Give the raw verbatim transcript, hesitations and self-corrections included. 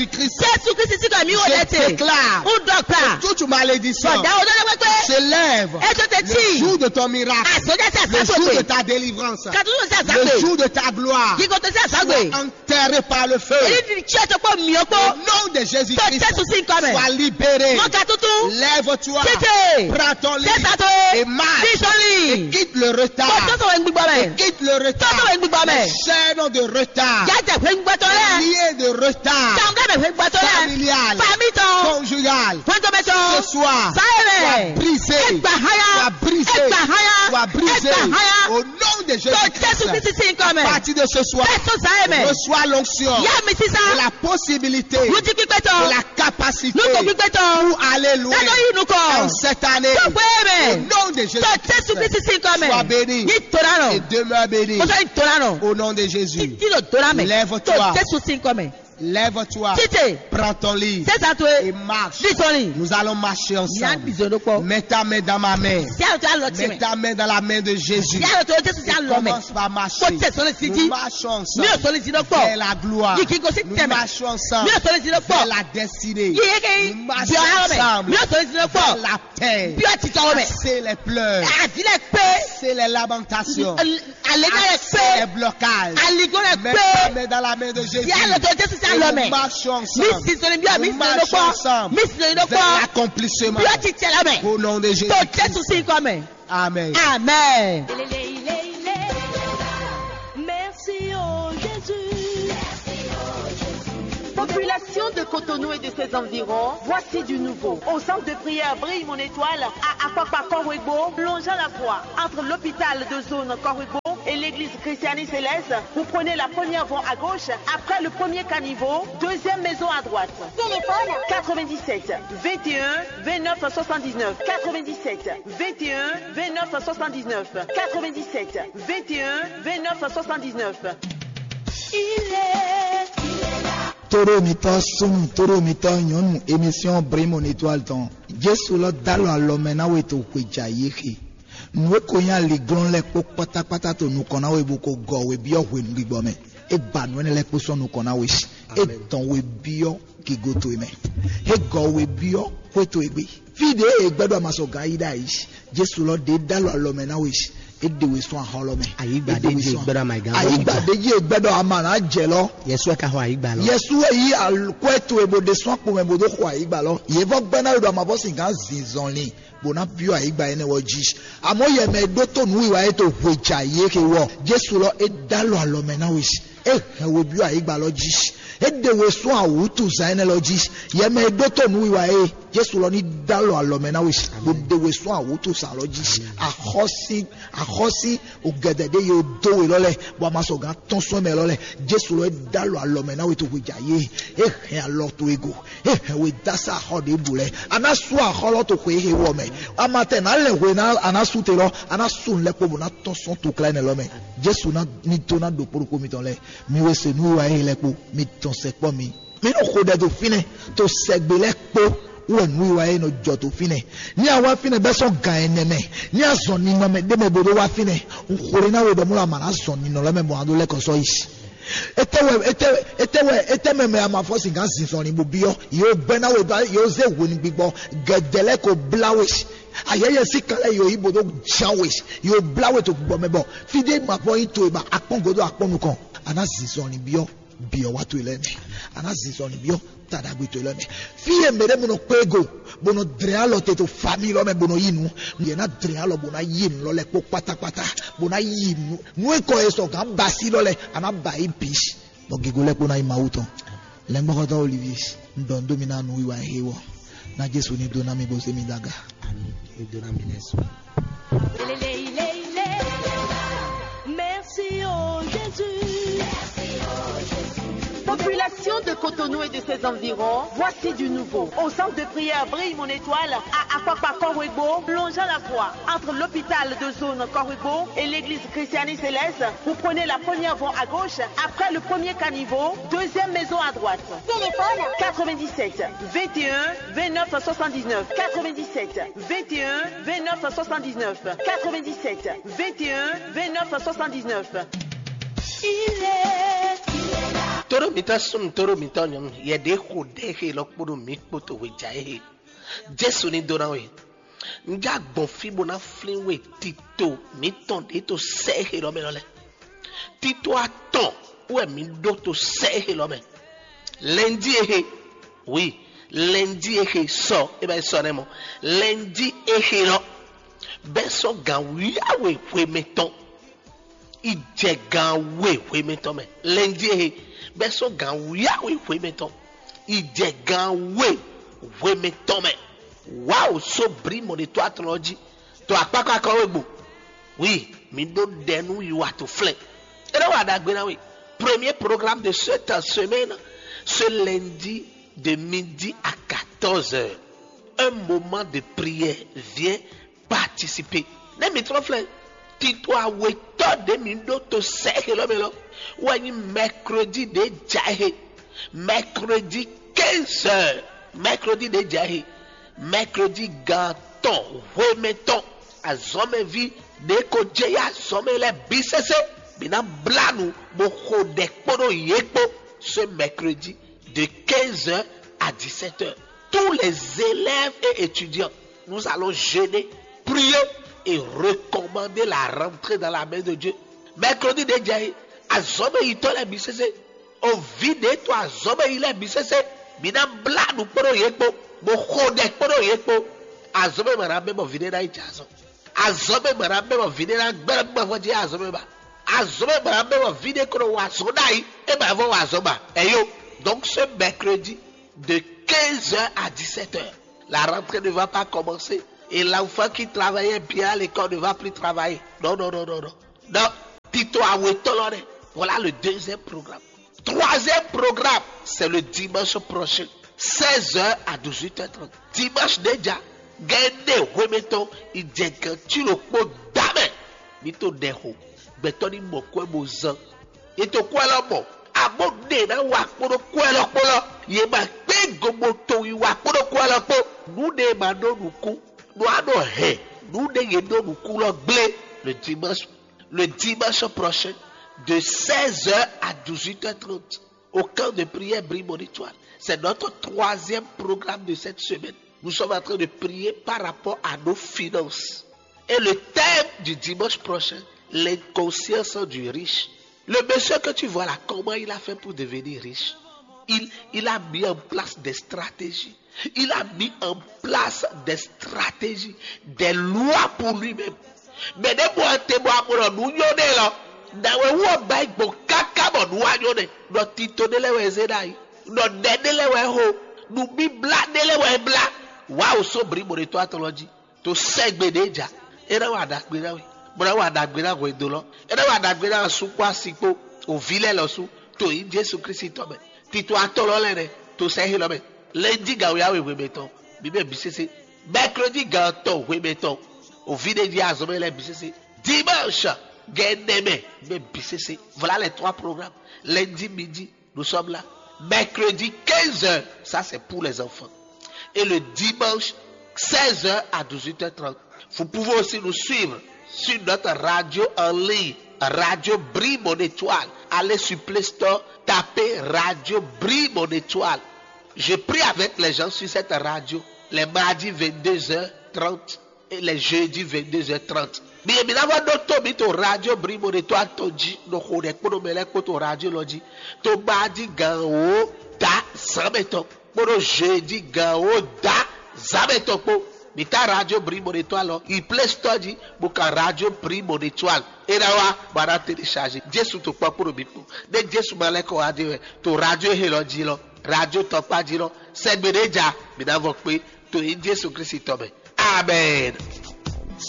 Jésus Christ. Jésù Kristi sín kɔ mǐ wò lɛ te. Je déclare Ń dɔgba. Que toute malédiction Bɔ̀dá wo lọ́dọ̀ pépé. S'élève. Ẹ tó tẹ Le tí. Jour de ton miracle. Àsọjá sí Le jour de àsápèpé. Ta délivrance. Kàtúntò sí àsápè. Le jour de ta gloire. Gígó tó sí àsápè. Soit enterré par le feu. Èyí ti tí ẹ tó pọ̀ mí ọ́ pọ̀. Au nom de Jésus-Christ. Tó Jésù sí nǹkan mẹ́. Sois libéré. Mọ ka tuntun. Lève-toi. Tètè. Prends ton lit. Sẹ́sà tó. Et marche. Bí sọ́lì. Et quitte le retard. Kò tó sọ̀rọ̀ gbígbọ́ mẹ́. Et quitte le retard. Tó sọ̀rọ̀ gbígbọ́ mẹ́. Les chaînes de retard. Yá jẹ fún gbígbọ́ tó rẹ̀. Liens de retard. Tàwọn kẹ́mẹ̀ fún gbígbọ́ tó rẹ̀. Familial. Fàmí tán. Conjugal. Fún tó bẹ́ tán. Ce soir. Sáyẹ̀rẹ̀. Soit brisé. Ẹ gbà háyà. Soit brisé. Ẹ gbà háyà. Soit brisé. Ẹ gbà háyà. Au nom de Jésus-Christ. Tó Jésù Kristi sí nǹkan mẹ́. À partir de ce soir, Jésù sáyẹ̀ mẹ́. Reçois l'onction. Yá mi sísá. Et la possibilité. Lùtí pípẹ́ tán. Et la capacité Lùtí pípẹ́ tán. Pour aller loin. Lọ́dọ̀ yìí nù kọ́. En cette année. Tó pé mẹ́. Au nom de Jésus-Christ. Tó Jésù Kristi sí nǹkan mẹ́. Sois béni. Ní tora nọ. Et demeure béni. Mo sọ ní tora nọ. Au nom de Jésus. Tí ló tora mẹ́. Lève-toi. Tó Jésù sí nǹkan mẹ́. Lève-toi. Títè. Prends ton lit. Sẹ́sà tó e. Et marche. Bí sọ́ni. Nous allons marcher ensemble. Ní à ń dìzọ́ ló pọ̀. Mets ta main dans ma main. Sí àlọ́ tó yà lọ tì mẹ́. Mets ta main dans la main de Jésus. Sí àlọ́ tó Jésù sí àlọ́ mẹ́. Commence par marcher. Kó tẹ̀ sọ́ni sí jí. Nous marchons ensemble. Mi ò sọ́ni sí ló pọ̀. Vers la gloire. Yìí kí n kò sí Nous tẹ̀ mẹ́. Marchons ensemble. Mi ò sọ́ni sí ló pọ̀. Vers la destinée. Yìí yé kí Nous marchons bí ọ̀rọ̀ mẹ́. Ensemble. Mi ò sọ́ni sí ló pọ̀. Vers la paix. Bí ọtí tọwọ́ mẹ́. Assez les pleurs. Àdílẹ̀ pé. Assez les lamentations. Àlejò rẹ̀ pé. Assez les blocages. Àlejò rẹ̀ pé. Mets ta main dans la main de Jésus. Yálò tó Jésù sí àlọ́ mẹ́. Et nous marchons ensemble. Mi sì sọ̀rọ̀ bí mi Nous sì lọ́dọ̀ marchons pọ̀. Ensemble. Mi sì lọ́dọ̀ pọ̀. Vers l'accomplissement. Bí ó ti tẹ̀lé mẹ́. Au nom de Jésus. Tó Jésù sí kọ́ mẹ́. Amen. Amen. Merci, oh Jésus. Population de Cotonou et de ses environs, voici du nouveau. Au centre de prière Brille Mon Étoile, à Akpakpa Korwegbo, longeant la voie entre l'hôpital de zone Korwegbo et l'église Christianis Céleste, vous prenez la première voie à gauche, après le premier caniveau, deuxième maison à droite. Téléphone quatre-vingt-dix-sept vingt et un vingt-neuf soixante-dix-neuf, quatre-vingt-dix-sept vingt et un vingt-neuf soixante-dix-neuf, quatre-vingt-dix-sept vingt et un vingt-neuf soixante-dix-neuf. Il est, il est là. Tóɖó mitɔ́ súnnu, tóɖó mitɔ́ nyɔ̌nu, émission Brimo Étoile tɔn. Jesu lɔ dó alɔ alɔ mɛ ná we to xwe jɛ ayǐ xe. Nǔ e ko nyí aliglɔ́n lɛ́ɛ kpó kpátákpátá to nukɔn ná we bó ko gɔ we byɔ́ hwenu gbigbɔ mɛ. É ba nǔ énɛ́ lɛ́ɛ kpó sɔ́ nukɔn ná we. É dɔn we byɔ́ gigo towe mɛ. É gɔ we byɔ́ xwé towe gbe. Fí ɖě e gbɛ́ ɖɔ a ma sɔ gǎn yí ɖ'ayǐ. Jesu lɔ ɖě dó alɔ alɔ mɛ ná we. É ɖe we sɔ́ axɔ́ lɔ mɛ. Ayǐgba É ɖe ɖě we jí sɔ́ gbɛ́ ɖɔ a ma yi gǎn Ayǐgba ɖě jí e gbɛ́ ɖɔ a ma nǎ jɛ lɔ. Yɛsu wɛ ka xɔ ayǐgba lɔ. Yɛsu wɛ yí al- kwɛ́ towe bó ɖe sɔ́ akpo mɛ bó dó xɔ ayǐgba lɔ. Yě vɔ gbɛ́ ná we ɖɔ a ma vɔ sin gǎn zinzɔnlin. Bó ná byɔ́ ayǐgba énɛ́ ɔ́ jí. Amɔ̌ yɛ mɛ e ɖótó nǔwiwa e to hwe jɛ ayǐ é xe wú ɔ́, Jesu lɔ é dó alɔ alɔ mɛ ná we. É hɛn we byɔ́ ayǐgba lɔ jí. É ɖe we sɔ́ awǔtuzán énɛ́ lɔ jí. Yɛ mɛ e ɖótó nǔwiwa é, Jesu lɔ ní dó alɔ alɔ mɛ ná we, bó ɖe we sɔ́ awǔtuzán lɔ jí. Axɔ́sí, axɔ́sí, o gɛdɛ ɖé ye dó we lɔ lɛ, bɔ a ma sɔ gǎn tɔ́n sɔ́ mɛ lɔ lɛ. Jesu lɔ é dó alɔ alɔ mɛ ná we to hwe jɛ ayǐ é. É hɛn alɔ towe go. É hɛn we dó asá axɔ́ ɖěbǔ lɛ́ɛ. A ná sú axɔ́ lɔ to xwe e xe wɔ mɛ. A ma tɛ nǎ lɛ hwe ná a ná sú te lɔ, a ná sú nǔ lɛ́ɛ kpó bó ná tɔ́n sɔ́n toklá énɛ́ lɔ mɛ. Jesu ná ní dó ná ɖo kpóɖokpó mitɔn lɛ́ɛ. Mi we se nǔwiwa e lɛ́ɛ kpó, mi tɔn sɛkpɔ́ mi. Mi nɔ xo ɖɛ ɖo fínɛ́, to sɛgbe lɛ́ɛ kpó wɛ nǔwiwa e nɔ jɔ dó fínɛ́. Ní a wá fínɛ́ bɛ́ sɔ́ gan ɛnɛ mɛ, ní a zɔn ninɔ mɛ ɖé mɛ bó ɖó wá fínɛ́, un xo ɖé ná we ɖɔ mɔ̌ a ma ná zɔn ninɔ lɛ́ɛ mɛ bɔ a ɖó lɛ́ kɔ sɔ́ yi. Etɛ wɛ etɛ etɛ wɛ etɛ mɛ mɛ a ma fɔ sin gǎn zinzɔnlin bó byɔ́, yě gbɛ́ ná we ɖɔ yě zé hwenu gbigbɔ, gɛdɛ lɛ́ɛ ko blá we. Ayɛyɛ sí kan lɛ́ɛ yǒ yí bó ɖó ján we, yǒ blá we to gbɔ mɛ bɔ fí ɖé ma fɔ nyí towe ba akpɔ́n gǒdo akpɔ́n nukɔn, a ná zinzɔnlin byɔ́. Byɔ́ wá towe lɛ́ɛ mɛ, a ná zinzɔnlin byɔ́ ta ɖagbe towe lɛ́ɛ mɛ. Fí e mɛ ɖé mɛ nɔ kpé go, bó nɔ dlɛ́n alɔ te to fami lɔ mɛ bó nɔ yí nǔ, yě ná dlɛ́n alɔ bó ná yí nǔ lɔ lɛ́ɛ kpó kpátákpátá, bó ná yí nǔ nú e kɔ e sɔ gǎn ba sí lɔ lɛ́ɛ, a ná ba yí bǐ. Bɔ gigo lɛ́ɛ kpó ná nyí Mawu tɔn. Lɛ̌ngbɔ́xɔ́tɔ́ Olivier, un ɖɔ nú dó mi ná nǔwiwa e xé wɔ, ná Jesu ní dó ná mi bó zé mi dó aga. Ami, e dó ná mi lɛ́ɛ sɔ. Merci, oh Jésus. Population de Cotonou et de ses environs, voici du nouveau. Au centre de prière Brille Mon Étoile, à Akpakpa Korwegbo, longeant la voie entre l'hôpital de zone Korwegbo et l'église Christianis Céleste, vous prenez la première voie à gauche, après le premier caniveau, deuxième maison à droite. Téléphone quatre-vingt-dix-sept vingt et un vingt-neuf soixante-dix-neuf, quatre-vingt-dix-sept vingt et un vingt-neuf soixante-dix-neuf, quatre-vingt-dix-sept vingt et un vingt-neuf soixante-dix-neuf. Il est, il est là. Tóɖó mǐtɔn súnnu, tóɖó mǐtɔn nyɔ̌nu, yɛ ɖě xo ɖɛ̌ xe lɔ kpódó mǐ kpo to hweja é he. Jesu ní dó ná we. Un já gbɔn fí bó ná flín we tito mǐtɔn ɖě to sɛ́ é xe lɔ mɛ lɔ lɛ́ɛ. Tito atɔn wɛ mǐ ɖó to sɛ́ é xe lɔ mɛ. Lɛnjí é xe, wi, lɛnjí é xe sɔ, é bɛ sɔ nɛ́ mɔ. Lɛnjí é xe lɔ, bɛ́ sɔ́ gǎn wíyáwe hwe mɛtɔn. Yi jɛ gan we hwe mɛtɔn mɛ. Lɛnjí e he bɛ sɔ́ gan wíyáwe hwe mɛtɔn. Yi jɛ gan we hwe mɛtɔn mɛ. Wǎ o só brí mɔɖetɔ́ atɔn ɔ́ jí. To akpákpákɔ we gbo. Oui, mi ɖó ɖɛ nú yi wa to flɛ́. É ɖo wa ɖagbe ná we. Premier programme de cette semaine, ce lundi de midi à quatorze heures. Un moment de prière. Viens participer. Ne mi trɔ flɛ, tito awetɔ ɖe mi ɖo to sɛ xelɔ mɛ lɔ, wɔ nyi mercredi ɖe dza he. Mercredi quinze heures. Mercredi ɖe dza he. Mercredi gan tɔn hwemɛtɔn. Azɔmɛvi ɖe ko jɛ ya azɔmɛ lɛ bi sese. Mi na bla nu bo xo ɖɛ kpó ɖo yě kpó. Ce mercredi de quinze heures à dix-sept heures. Tous les élèves et étudiants, nous allons jeûner, prier et recommander la rentrée dans la main de Dieu. Mercredi déjà, azɔmɛ yitɔ lɛ bi sese. Ovi ɖe to azɔmɛ yi lɛ bi sese. Mi na bla nu kpó ɖo yě kpó. Bo xo ɖɛ kpó ɖo yě kpó. Azɔmɛ ma na bɛ bɔ vi ɖe na yi jɛ azɔn. Azɔmɛ ma na bɛ bɔ vi ɖe na gbɛrɛ gbɛvɔ jí azɔmɛ ba. Azɔmɛ ma na bɛ bɔ vi ɖe kó wa azɔn ɖ'ayi. E ma vɔ wa azɔn ba. Eyo. Donc ce mercredi, de quinze heures à dix-sept heures, la rentrée ne va pas commencer. Et l'enfant qui travaillait bien à l'école ne va plus travailler. Non, non, non, non, non. Donc, tito awetɔ lɔ ɖe. Voilà le deuxième programme. Troisième programme, c'est le dimanche prochain, seize heures à dix-huit heures trente. Dimanche déjà, gɛnɛ hwemɛtɔn, idjɛgɛn tilo kpo dame. Mi to ɖɛ xo. Gbɛtɔ ni mɔ kwɛ bo zan. Ye to kwɛ lɔ mɔ. Abo ɖe na wa kpoɖo kwɛ lɔ kpo lɔ. Ye ma kpe gobo to yi wa kpoɖo kwɛ lɔ kpo. Nu ɖe ma ɖo nukun. Nu a ɖo hɛn. Nu ɖe ye ɖo nukun lɔ gblé. Le dimanche, le dimanche prochain, de seize heures à dix-huit heures trente, au camp de prière Brimonitoire. C'est notre troisième programme de cette semaine. Nous sommes en train de prier par rapport à nos finances. Et le thème du dimanche prochain, l'inconscience du riche. Le monsieur que tu vois là, comment il a fait pour devenir riche? Il, il a mis en place des stratégies. Il a mis en place des stratégies, des lois pour lui-même. Mais ne bɔ te bɔ amɔ nu nyɔ ne lɔ, na wɛ wɔ ba gbɔ kaka bɔ nu wa nyɔ ne. Nɔ tito ne lɛ wɛ ze ɖa yi. Nɔ ɖɛ ne lɛ wɛ ho. Nu bibla ne lɛ wɛ bla. Wa o so bri mo ne to atɔ lɔ ji. To sɛgbe ɖe ja. E na wa ɖagbe na we. Mo na wa ɖagbe na hwe do lɔ. E na wa ɖagbe na su kpó asi kpó. O vi lɛ lɔ su. To yi Jesu Kristi tɔ mɛ. Tito atɔ lɔ lɛ nɛ. To sɛ he lɔ mɛ. Lɛnji ga wia we hwe mɛ tɔn. Mi bɛ bi sese. Mercredi ga tɔn hwe mɛ tɔn. O vi ɖe ji azɔmɛ lɛ bi sese. Dimanche gɛnɛ mɛ. Mi bɛ bi sese. Voilà les trois programmes. Lundi midi, nous sommes là. Mercredi quinze heures, ça c'est pour les enfants. Et le dimanche, seize heures à dix-huit heures trente. Vous pouvez aussi nous suivre sur notre radio en ligne, Radio Bri Mon Étoile. Allez sur Play Store, tapez Radio Bri Mon Étoile. Je prie avec les gens sur cette radio les mardis vingt-deux heures trente et les jeudis vingt-deux heures trente. Mi mi na va ɖo to mi to radio Bri Mon Étoile to ji, no xo ɖe kpódó mɛ lɛ kpó to radio lɔ ji. To ba ji gan wo da zan mɛ tɔn kpódó jeudi gan wo da zan mɛ tɔn kpó. Mi ta radio Bri Mon Étoile lɔ yi Play Store ji, bo ka radio Bri Mon Étoile. E na wa ba na télécharger. Jesu to kpɔ kpódó mi kpó. Ne Jesu ma lɛ kɔ wa de wɛ to radio he lɔ ji lɔ, radio tɔkpa ji lɔ, sɛgbe ɖe ja mi na vɔ kpé to yi Jesu Kristi tɔ mɛ. Amen.